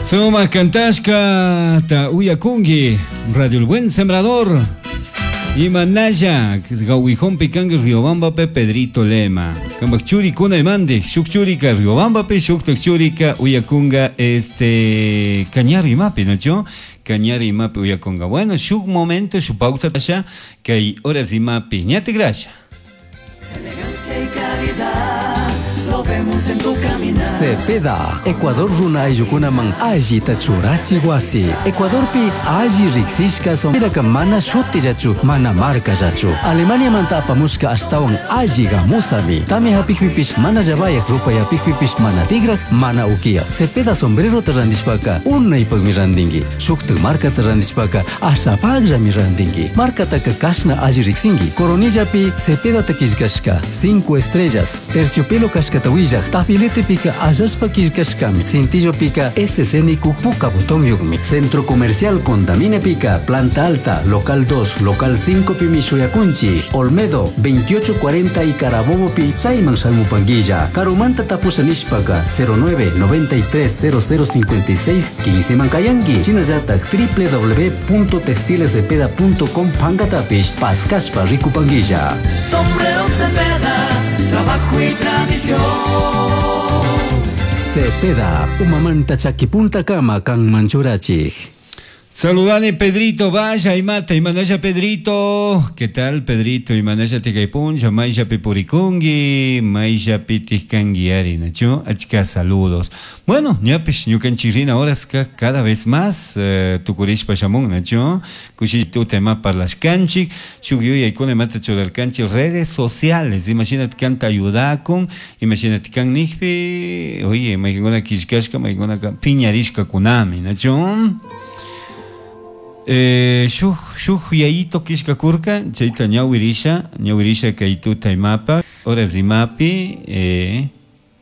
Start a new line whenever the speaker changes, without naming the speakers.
Suma kantashka ta uyakungi Radio El Buen Sembrador. Imanalla Gawijompi kangi Riobambape Pedrito Lema. Kambak churikuna imandi, shuk churika Riobambapi, shuktak churika uyakunga este Cañar imapi, ¿no? Cañar imapi uyakunga. Bueno, shuk momento, shuk pausa tasha, kay horas imapi. Ñate gracia.
Elegancia y calidad, lo vemos en tu caminar.
Cepeda, Ecuador runa ayllukunaman allita churachi wasi. Ecuadorpi alli riqsishka sombreraka mana shutillachu, mana markallachu. Alemaniamanta apamushka ashtawan alli gamusami. Tamya hapikpipish mana llabayaq, rupay hapikpipish mana tigraq, mana ukiyaq. Cepeda sombrerota randishpaka unaypaqmi randinki. Shuktak markata randishpaka ashapaqllami randinki. Markataka kashna alli riqsinki. Coronillapi Cepedata qillqashka, cinco estrellas, terciopelo kashkata willaq, tafiletepika allashpa qillqashkami. Cintillopika SC nikuq puka botonyuqmi. Centro Comercial Condaminepika, Planta Alta, Local 2, Local 5 pimi shuyakunchik. Olmedo, 2840 y Carabobopi chayman shamupanguilla. Karumanta tapusha nishpaka 09 93 0056 15 mankayanki. Shinallatak www.textilescepeda.com pankatapish paskashpa rikupanguilla.
Sombrero Cepeda, trabajo y tradición.
Cepeda, umamanta chakipunta kama kanman churachik.
Saludane Pedrito, vaya y mata y manaya Pedrito. ¿Qué tal Pedrito? Y manaya tikaipuncha, maya pipurikungi, maya pitiskanguiari, nacho, achka saludos. Bueno, ñapish ñukanchirina horas cada vez más tukurishpa shamun, nacho, kushitu tema parlashkanchik, shukyuyaykuna imata churarkanchik redes sociales, imagínate kanta ayudakun, imagínate kan nijpi, oye, maykuna killkashka, maykuna piñarishka kunami, nacho. Shuk shuk yayito kishka kurka chayta ñawirisha ñawirisha kay tuta imapa horas imapi.